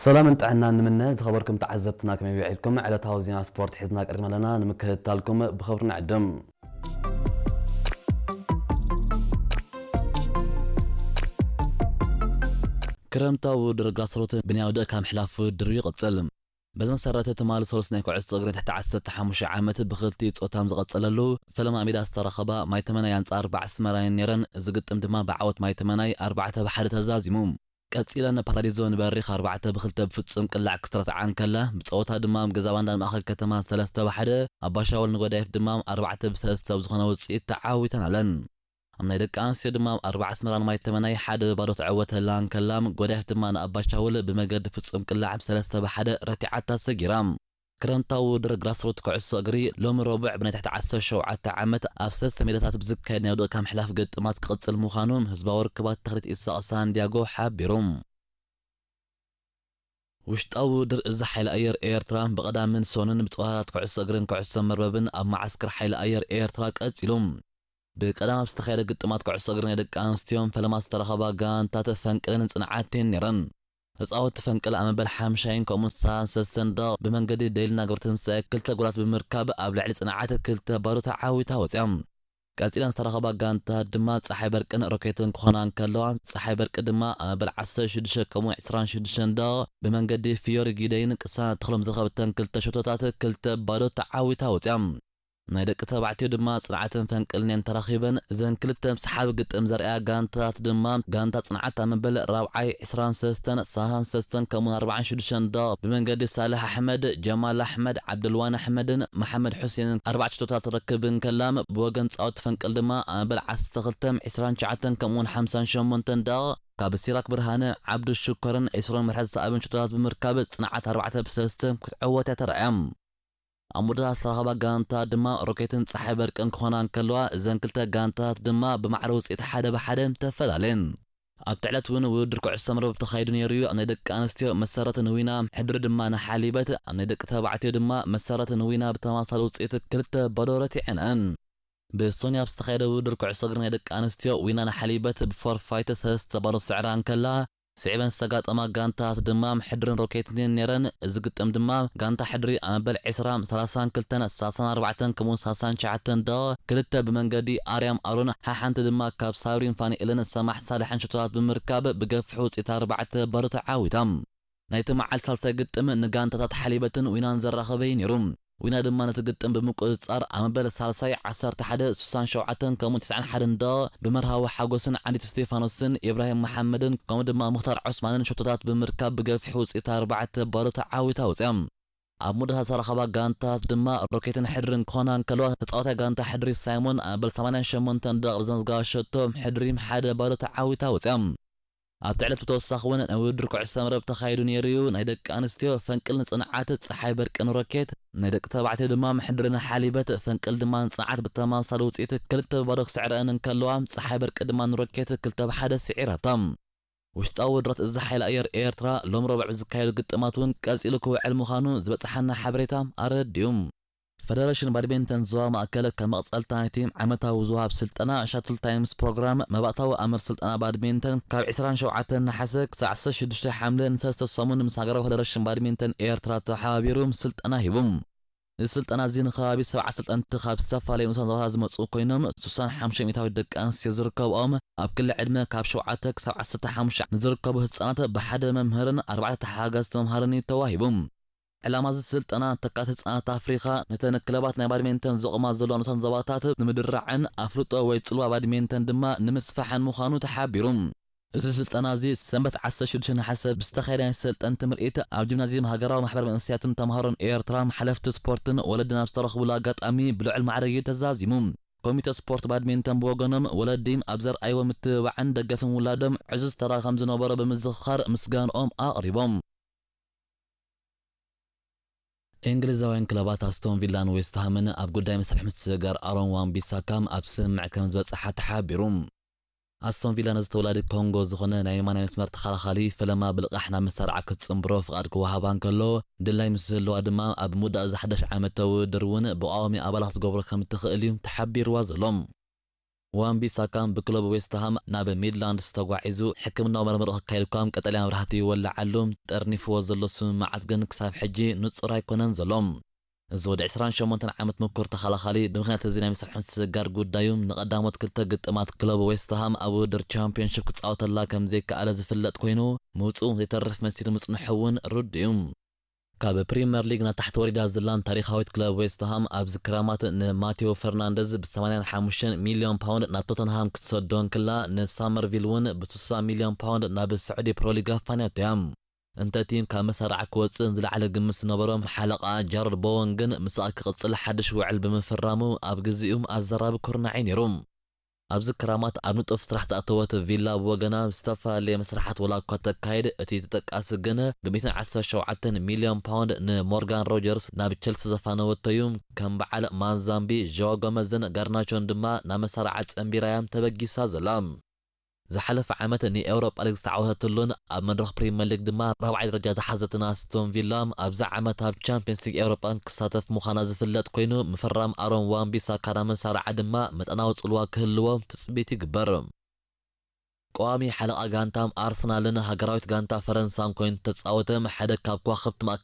ሰላምን ጥዕናን ንምነ። ዝኸበርኩም ተዓዘብትና ከመይ ውዒልኩም? ዕለታዊ ዜና ስፖርት ሒዝና ቀሪብና ኣለና፣ ንምክትታልኩም ብኽብሪ ንዕድም። ክረምታዊ ውድድር ግራስሩት ብናይ ውድእ ካብ ምሕላፍ ውድድሩ ይቕጽል። በዚ መሰረት ትማሊ ሰሉስ ናይ ኩዕሶ እግሪ ትሕቲ ዓሰርተ ሓሙሽተ ዓመት ብኽልቲኡ ጾታም ዝቐጸለሉ ፈለማ ሜዳ ዝተረኸባ ማይ ተመናይ ኣንጻር ባዕ ኣስመራይን ነይረን። እዚ ግጥም ድማ ብዓወት ማይ ተመናይ ኣርባዕተ ብሓደ ተዛዚሙ። ቀጺለን ፓራዲዞ ንበሪኽ ኣርባዕተ ብኽልተ ብፍጹም ቅላዕ ክስትረትዓ እንከላ፣ ብጸወታ ድማ ኣብ ገዛ ባንዳ ማእከል ከተማ ሰለስተ ብሓደ፣ ኣባሻወል ንጎዳይፍ ድማ ኣርባዕተ ብሰለስተ ብዝኾነ ውጽኢት ተዓዊተን ኣለን። ኣብ ናይ ደቂ ኣንስትዮ ድማ ኣርባዓ ኣስመራን ማይ ተመናይ ሓደ ባዶ ተዕወተላ እንከላ፣ ጎዳይፍ ድማ ንኣባሻውል ብመገዲ ፍጹም ቅላዕ ሰለስተ ብሓደ ረቲዓታ ሰጊራ። ክረምታዊ ውድድር ግራስሩት ኩዕሶ እግሪ ሎሚ ረቡዕ ብናይ ትሕቲ ዓሰርተ ሸውዓተ ዓመት ኣብ ሰለስተ ሜዳታት ብዝካየድ ናይ ውድእ ካብ ምሕላፍ ግጥማት ክቕጽል ምዃኑ ህዝባዊ ርክባት ተኽሊት ኢሳቕ ሳንዲያጎ ሓቢሩ። ውሽጣዊ ውድድር እዚ ሓይሊ ኣየር ኤርትራ ብቐዳምን ሰኑን ብጸወታታት ኩዕሶ እግርን ኩዕሶ መርበብን ኣብ መዓስከር ሓይሊ ኣየር ኤርትራ ቀጺሉ። ብቀዳም ኣብ ዝተኻየደ ግጥማት ኩዕሶ እግሪ ናይ ደቂ ኣንስትዮን ፈለማ ዝተረኸባ ጋንታት ፈንቅልን ጽንዓትን ነይረን። ተጻወትቲ ፈንቅል ኣብ መበል ሓምሻይን ከምኡውን ሳልሳን ሰስተን ደቕ ብመንገዲ ደይልና ገብረትንሳኤ ክልተ ጎላት ብምርካብ ኣብ ልዕሊ ጽንዓት ክልተ ባዶ ተዓዊታ ወጽያ። ቀጺለን ዝተረኸባ ጋንታት ድማ ጸሓይ በርቅን ሮኬትን ክኾና እንከለዋ፣ ጸሓይ በርቂ ድማ ኣብ መበል ዓሰርተ ሽዱሽተ ከምኡውን ዕስራን ሽዱሽተን ደቕ ብመንገዲ ፊዮሪ ጊደይን ቅሳነት ተኽሎም ዝረኸበተን ክልተ ሸቶታት ክልተ ባዶ ተዓዊታ ወጽያ። ናይ ደቂ ተባዕትዮ ድማ ጽንዓትን ፈንቅልን እየን ተራኺበን። እዘን ክልተ ሰሓቢ ግጥም ዘርእያ ጋንታታት ድማ፣ ጋንታ ጽንዓት ኣብ መበል ራብዓይ ዕስራን ሰስተን፣ ሳልሳን ሰስተን ከምኡውን ኣርባዓን ሽዱሽተን ደቕ ብመንገዲ ሳልሕ ኣሕመድ፣ ጀማል ኣሕመድ፣ ዓብደልዋን ኣሕመድን መሓመድ ሑሴንን ኣርባዕተ ሸቶታት ትረክብ እንከላ፣ ብወገን ጻወት ፈንቅል ድማ ኣብ መበል ዓሰርተ ክልተ፣ ዕስራን ትሽዓተን ከምኡውን ሓምሳን ሸሞንተን ደቕ ካብ ሲራክ ብርሃነ፣ ዓብዱ ሽኮርን ዒስራን ምሕረት ዝሰኣበን ሸቶታት ብምርካብ ጽንዓት ኣርባዕተ ብሰለስተ ክትዕወት እያ ተራእያ። ኣብ መወዳእታ ዝተረኸባ ጋንታ ድማ ሮኬትን ጸሓይ በርቅን ክኾና እንከለዋ፣ እዘን ክልተ ጋንታታት ድማ ብማዕረ ውጽኢት ሓደ ብሓደ ተፈላለየን። ኣብቲ ዕለት እውን ውድድር ኩዕሶ መርበብ ተኻይዱ ነይሩ እዩ። ኣብ ናይ ደቂ ኣንስትዮ መሰረት ንዊና፣ ሕድሪ ድማ ንሓሊበት፣ ኣብ ናይ ደቂ ተባዕትዮ ድማ መሰረት ንዊና ብተመሳሳሊ ውጽኢት ክልተ ባዶ ረቲዐንኣን። ብሶኒ ኣብ ዝተኻየደ ውድድር ኩዕሶ እግሪ ናይ ደቂ ኣንስትዮ ዊና ንሓሊበት ብፎርፋይት ሰለስተ ባዶ ስዕራ እንከላ፣ ስዒበን ዝተጋጠማ ጋንታት ድማ ሕድርን ሮኬትን ነይረን። እዚ ግጥም ድማ ጋንታ ሕድሪ ኣብ መበል ዕስራ፣ ሰላሳን ክልተን፣ ሰላሳን ኣርባዕተን ከምኡውን ሰላሳን ትሽዓተን ደቕ ክልተ ብመንገዲ ኣርያም ኣሮን፣ ሓሓንቲ ድማ ካብ ሳብሪን ፋኒኤልን ሰማሕ ሳልሕን ሽቶታት ብምርካብ ብገፊሕ ውፅኢት ኣርባዕተ ባዶ ተዓዊታ። ናይቲ መዓልቲ ሳልሳይ ግጥም ንጋንታታት ሓሊበትን ዊናን ዘራኸበ እዩ ነይሩ። ዊና ድማ ነቲ ግጥም ብምቁጽጻር ኣብ መበል ሳልሳይ ዓሰርተ ሓደ፣ ስሳን ሸውዓተን ከምኡ ትስዓን ሓደን ደቕ ብመርሃዊ ሓጎስን ዓንዲት እስቴፋኖስን ኢብራሂም መሓመድን ከምኡ ድማ ሙኽታር ዑስማንን ሸቶታት ብምርካብ ብገፊሕ ውጽኢት ኣርባዕተ ባዶ ተዓዊታ ወጽያ። ኣብ መወዳእታ ዝተረኸባ ጋንታት ድማ ሮኬትን ሕድርን ክኾና እንከለዋ፣ ተጻዋታይ ጋንታ ሕድሪ ሳይሞን ኣብ መበል ሰማንያን ሸሞንተን ደቕ ብዘመዝገባ ሸቶ ሕድሪ ሓደ ባዶ ተዓዊታ ወጽያ። ኣብቲ ዕለት ብተወሳኺ እውን ናይ ውድድር ኩዕሶ መረብ ተኻይዱ ነይሩ እዩ። ናይ ደቂ ኣንስትዮ ፈንቅል ንጽንዓት ጸሓይ በርቅን ሮኬት፣ ናይ ደቂ ተባዕትዮ ድማ ምሕድርን ሓሊበት ፈንቅል ድማ ንጽንዓት ብተመሳሳሊ ውጽኢት ክልተ ብባዶ ክስዕረአን እንከለዋ፣ ጸሓይ በርቂ ድማ ንሮኬት ክልተ ብሓደ ስዒራታ። ውሽጣዊ ውድረት እዚ ሓይሊ ኣየር ኤርትራ ሎም ረቡዕ ብዝካየዱ ግጥማት እውን ቀጺሉ ክውዕል ምዃኑ ዝበጽሓና ሓበሬታ ኣረዲኡ። ፈደረሽን ባድሚንተን ዞባ ማእከል ከም መቕጸልታ ናይቲ ዓመታዊ ዝወሃብ ስልጠና ሻትል ታይምስ ፕሮግራም መባእታዊ ኣምር ስልጠና ባድሚንተን ካብ ዕስራን ሸውዓተን ነሓሰ ክሳዕ ዓሰርተ ሽዱሽተ ሓምለ ንሰለስተ ሰሙን ምስ ሃገራዊ ፈደረሽን ባድሚንተን ኤርትራ ተሓባቢሩ ስልጠና ሂቡ። እዚ ስልጠና እዚ ንከባቢ ሰብዓ ሰልጠንቲ ካብ ዝተፈላለዩ ንኡሳን ዞባታት ዝመጹ ኮይኖም፣ ስሳን ሓሙሽተ ሚእታዊት ደቂ ኣንስትዮ ዝርከብኦም፣ ኣብ ክሊ ዕድመ ካብ ሸውዓተ ክሳብ ዓሰርተ ሓሙሽተ ንዝርከቡ ህጻናት ብሓደ መምህርን ኣርባዕተ ተሓጋዝቲ መምሃርን እዩ ተዋሂቡ። ዕላማ እዚ ስልጠና፣ ተካእቲ ህጻናት ኣፍሪኻ ነተን ክለባት ናይ ባድሚንተን ዘቑማ ዘለዋ ንኡሳን ዞባታት ንምድራዕን ኣፍልጦ ወይ ጽልዋ ባድሚንተን ድማ ንምስፋሕን ምዃኑ ተሓቢሩ። እዚ ስልጠና እዚ ሰንበት ዓሰርተ ሽዱሽተ ነሓሰ ብዝተኻየደ ናይ ሰልጠንቲ ምርኢት ኣብ ጂምናዝየም ሃገራዊ ማሕበር መንእሰያትን ተምሃሮን ኤርትራ፣ ሓለፍቲ ስፖርትን ወለድን ኣብ ዝተረኽቡሉ ኣጋጣሚ ብልዑል ማዕረግ እዩ ተዛዚሙ። ኮሚተ ስፖርት ባድሚንተን ብወገኖም፣ ወለዲ ኣብ ዘርኣይዎ ምትብባዕን ደገፍን ውላዶም ዕዙዝ ተራ ከም ዝነበሮ ብምዝኽኻር ምስጋንኦም ኣቕሪቦም። እንግሊዛውያን ክለባት ኣስቶን ቪላን ዌስትሃምን ኣብ ጉዳይ መስርሕ ምስግጋር ኣሮን ዋን ቢሳካ ኣብ ስምምዕ ከም ዝበጽሓ ተሓቢሩ። ኣስቶን ቪላ ነዚ ተወላዲ ኮንጎ ዝኾነ ናይ የማናይ መስመር ተኸላኻሊ ፈለማ ብልቓሕ ናብ መሳርዓ ክትጽንብሮ ፍቓድ ክወሃባ እንከሎ፣ ድላይ ምስ ዝህልዋ ድማ ኣብ ምውዳእ እዚ ሓድሽ ዓመት ተውድድር እውን ብቋዋሚ ኣባላ ክትገብሮ ከም እትኽእል እዩ ተሓቢርዋ ዘሎ። ዋን ቢሳካ ብክለብ ዌስትሃም ናብ ሚድላንድስ ተጓዒዙ ሕክምናዊ መርመሮ ክካየድ እኳ ቀጠልያ መብራህቲ ይወልዓሉ፣ ጠርኒፍዎ ዘሎ ስምምዓት ግን ክሳብ ሕጂ ንጹር ኣይኮነን ዘሎ። እዚ ወዲ ዕስራን ሸሞንተን ዓመት ምኩር ተኸላኻሊ ብምኽንያት እዚ ናይ ምስራሕ ምስግጋር ጉዳዩ ንቐዳሞት ክልተ ግጥማት ክለብ ዌስትሃም ኣብ ውድድር ቻምፒዮንሺፕ ክጻወተላ ከም ዘይከኣለ ዝፍለጥ ኮይኑ፣ ምውጽኡ ዘይተርፍ መሲሉ ምጽንሑ እውን ርዱእ እዩ። ካብ ፕሪምየር ሊግ ናብ ታሕቲ ወሪዳ ዘላን ታሪኻዊት ክለብ ዌስትሃም ኣብዚ ክራማት ንማቴዎ ፈርናንደዝ ብ ሰማንያን ሓሙሽተን ሚልዮን ፓውንድ ናብ ቶተንሃም ክትሰዶ እንክላ፣ ንሳመርቪል እውን ብ ስሳ ሚልዮን ፓውንድ ናብ ስዑዲ ፕሮሊግ ኣፋንያቶ እያ። እንተ እቲ ካብ መሳርዓ ክወጽእ ዝለዓለ ግምት ዝነበሮም ሓለቓ ጃረድ ቦወን ግን ምስኣ ክቕጽል ሓድሽ ውዕል ብምፍራሙ ኣብ ግዜኡ ኣዘራቢ ኩርናዕ እዩ ነይሩ። ኣብዚ ክራማት ኣብ ንጡፍ ስራሕ ዝኣተወት ቪላ ብወገና ዝተፈላለየ መስርሓት ወላ እኳ ተካይድ፣ እቲ ተጠቃሲ ግን ብ ሚእትን ዓሰርተ ሸውዓተን ሚልዮን ፓውንድ ንሞርጋን ሮጀርስ ናብ ቸልሲ ዘፋነወቶ እዩ። ከም በዓል ማንዛምቢ፣ ዦ ጎመዝን ጋርናቾን ድማ ናብ መሳርዓ ጸንቢራ እያ ተበጊሳ ዘላ። ዝሓለፈ ዓመት ንኤውሮጳ ሊግ ዝተዓወተትሉን ኣብ መድረኽ ፕሪምየር ሊግ ድማ ራብዓይ ደረጃ ዝሓዘትን ኣስቶን ቪላ፣ ኣብዚ ዓመት ኣብ ቻምፒየንስ ሊግ ኤውሮጳ ክሳተፍ ምዃና ዝፍለጥ ኮይኑ፣ ምፍራም ኣሮን ዋን ቢሳካ ናብ መሳርዓ ድማ መጠናዊ ጽልዋ ክህልዎ ትጽቢት ይግበር። ቀዋሚ ሓለቓ ጋንታ ኣርሰናልን ሃገራዊት ጋንታ ፈረንሳን ኮይኑ ተጻወተ ሓደ ካብ ከዋኽብቲ ማእከል